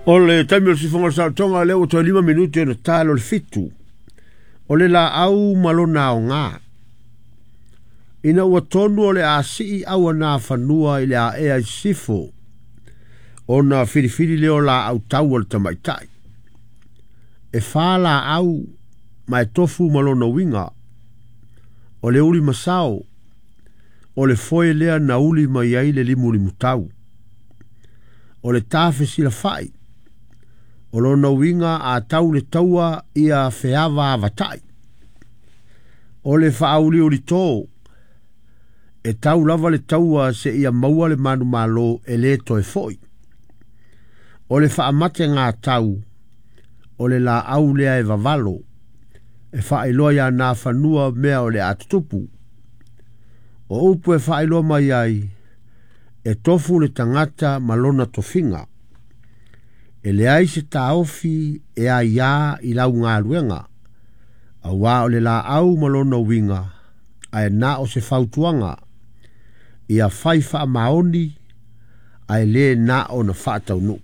O le taimi o le sifoga o le saolotoga lea ua toe 5 minute ona ta lo le 7. O le laau ma lona aoga. Ina ua tonu o le a sii au na fanua i le aea i sisifo, ona filifili lea o laau tau o le tamaitai. E 4 laau ma e tofu ma lona uiga. O le uli masao, o le foe lea na uli mai ai le limulimutau. O le tafe silafai, o lona uiga a tau le taua ia feava avatai. O le faauliuli tō, e tau lava le taua se ia maua le manumalo e le toe foi. O le faamate ngā tau, o le laau lea e vavalo, e faailoa ia nā fanua mea o le atutupu. O upu e faailoa mai ai, e tofu le tagata ma lona tofiga. E leai se taofi e aiā i lau galuega, auā o le laau ma lona uiga, ae na o se fautuaga, ia fai faamaoni, ae lē na o na faataunuu.